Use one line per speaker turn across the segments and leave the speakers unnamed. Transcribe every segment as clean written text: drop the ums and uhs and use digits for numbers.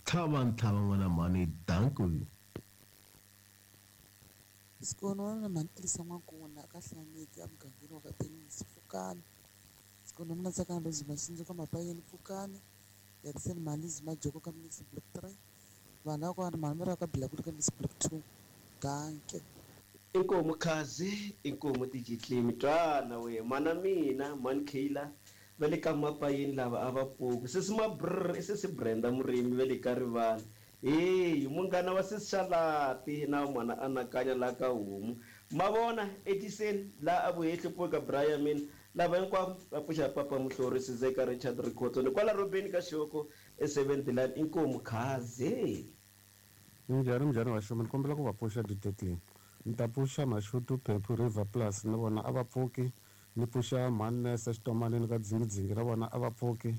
Tlhava ntlhava n'wana mhani, danko.
Sikoni wa mina mhani Tirhisa N'wankuna ka Hlaneki emugangeni wa ka Tennis Pfukani. Sikoni wa mina Tsakani Rose Mashinji ka Mapayeni Pfukani. Yatiseni Malizi Majoko ka Mix Block 3. Vanhu lava kwani mhani va ka Bilakulu ka Mix Block 2. Danke.
Inkomu khazi, inkomu tijitlimi twana we mana mina mhani Kayla va le ka Mapayeni lava a va pfuki sesi Mabrr i sesi Brenda Murimi va le ka Rivala heyi munghana wa sesi Xalati na mhana Anakanya la ka Homu ma vona Edison la a vuhehli pfuka bra ya mina lava hinkwavo va pfuxa papa Muhlori Sizeka Richard Rikhotso ni kwala Robeni ka Xihoko e Seventh Line inkomu khazi.
Minjhani minjhani vaxumi ni kombela ku va pfuxa DJ ni ta pfuxa Mashudu Phephu River Plus na vona a va pfuki ni pfuxa mhani Nese Xitomanini ka Dzingidzingi na vona a va pfuki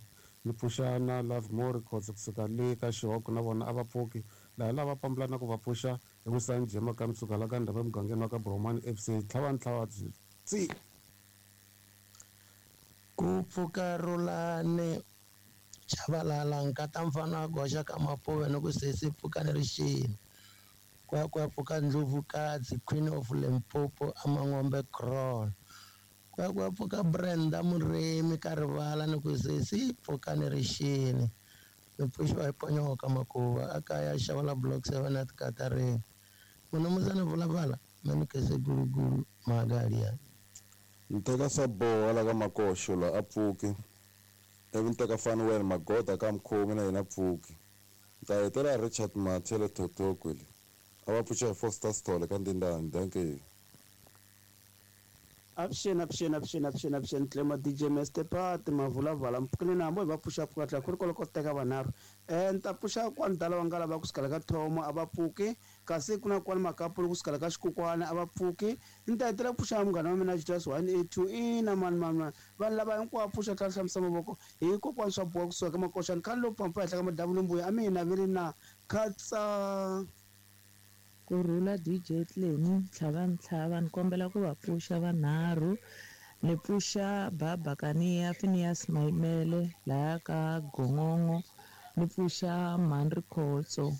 ni pfuxa na Lovemore Khotso kusuka le ka Xihoko na vona a va pfuki laha lava pambula na ku va pfuxa i Wisani Jema ka Msuka la ka Ndhava emugangeni wa ka Bromani FC tlhava ni tlhava byi tsi.
Ku pfuka Rhulani Chavalala nkata mfana wa goxa ka Mapuve ni ku sesi pfukani rixini ku ya ku ya pfuka Ndlovukadzi Queen of Limpopo aMangombe Kraal ku ya ku ya pfuka Brenda Murimi ka Rivala ni ku sesi pfukani rixini mi pfuxiwa hi Ponyoka Makuva a kaya Xavala Block 7 at Katarini Munumuzana Vulavala Manikese Gulugulu Magalia.
Ni teka swa boha la ka Makoxo la a pfuki ivi ni teka Fanuel Magoda ka Mkhomi na yena pfuki ni ta hetela Richard Mathe le Thotokwe le a va pfuxa hi Foster Sithole ka Ndindani dankie.
Avuxeni avuxeni avuxeni avuxeni avuxeni Tlema DJ Master Pat Mavulavala mpfukeni na hambo hi va pfuxa pfuka tlhela ku ri kwalo ko teka vanharhu ni ta pfuxa kwani dala va nga lava ku sukela ka thomo a va pfuki kasi ku na kwani makapulu ku sukela ka xikukwana a va pfuki ni ta hetela ku pfuxa munghana wa mina Julius 182 ina mani mani mani vanhu lava hinkwavo pfuxa tlhela hlamusa mavoko hi kokwani swa boha kusuka ka makoxani khale lowu pampa henhla ka madamu mbuya a mi hi naveli na khatsa.
Kurhula DJ Tleni tlhava ntlhava ni kombela ku va pfuxa vanharhu ni pfuxa Baba Kaniya Phineas Maimele laya ka Gongongo ni pfuxa Mhandri Khotso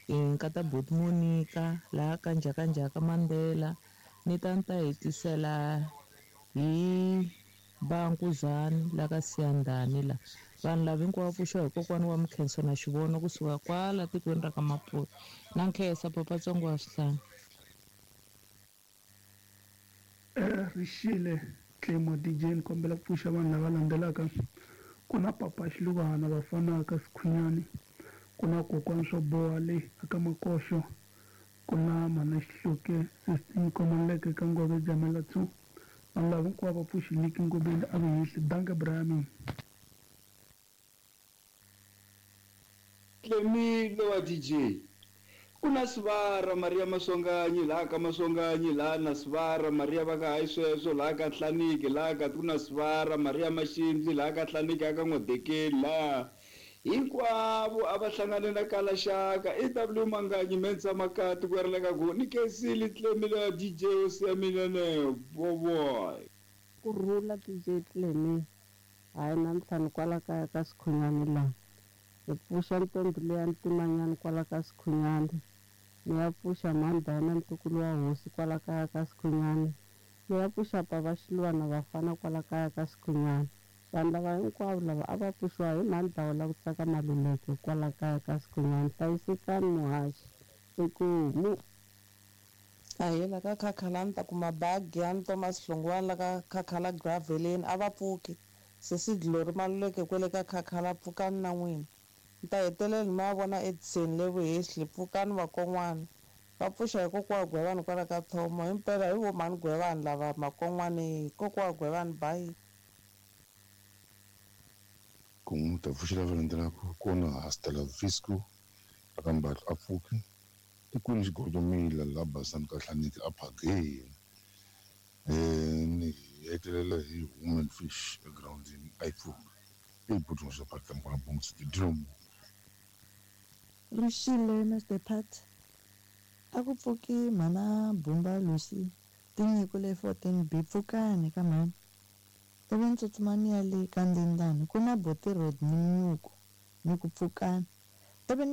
nkata Buti Monica laya ka Njhakanjhaka Mandela ni ta ni ta hetisela hi Bankuzani la ka Siyandhani la vanhu lava hinkwavo pfuxiwa hi kokwana wa Mkhenso na Xivono kusuka kwala tikweni ra ka Maputo na nkhensa papa Tsongo wa Swihlanga.
Rixile Tlemo DJ ni kombela ku pfuxa vanhu lava landzelaka ku na papa Xiluvana vafana ka Sikhunyani ku na kokwani swo boha le aka Makoxo ku na mhana Xihluke Sister Nkomaleke ka Ngove Jamela 2 vanhu lava hinkwavo va pfuxi Liki Ngobeni a vehehli danke Brian.
Tlemile wa DJ ku na Sivara Maria Masonganyi laha ka Masonganyi laha na Sivara Maria va ka hayi sweswo laha ka Hlaniki laha ka ku na Sivara Maria Maxindzi laha ka Hlaniki aka N'wadekeli laha hinkwavo a va hlangane na Kalaxaka EW Manganyi Mensa Makati ku ri ka ku ni Kesile Tlemile wa DJ o siya mina ne boboy.
Kurhula DJ Tlemi hayi namuntlha ni kwala kaya ka Sikhunyani laha ni pfuxa ntombi leya ntimanyani kwala ka Sikhunyani ni ya pfuxa Mandana ntukulu wa hosi kwala kaya ka Sikhunyani ni ya pfuxa Papa Xilwana vafana kwala kaya ka Sikhunyani vanhu lava hinkwavo lava a va pfuxiwa hi Mandhawu la ku tsaka Maluleke kwala kaya ka Sikhunyani hlayisekani muhaxi ekumu.
Ahela ka Khakhala ni ta kuma bagi ya ni Thomas Hlongwane la ka Khakhala Graveleni a va pfuki sesi Glory Maluleke kwele ka Khakhala pfukani na n'wina ni ta hetelela ni ma vona Edison le Vuhehli pfukani vakon'wana va pfuxa hi kokwa Gwevani kwala ka Thomo himpela hi vo mhani Gwevani lava makon'wani kokwa Gwevani bayi.
Ku n'wi ta pfuxela va landzelaka kona hasta la Visco aka Mbatlo a pfuki tikwini Xigodomila la Basani ka Hlaniki a phageni ni hetelela hi Woman Fish egroundini a yi pfuki i buti swa parka mkwana bongo dilomo.
Rixile Mr Pat a ku pfuki mhana Bumba Lucy tinyiko le 14B pfukani ka mhani ivi ni tsutsuma ni ya le ka Ndindani ku na Boti Rodney Nyuku ni ku pfukani ivi ni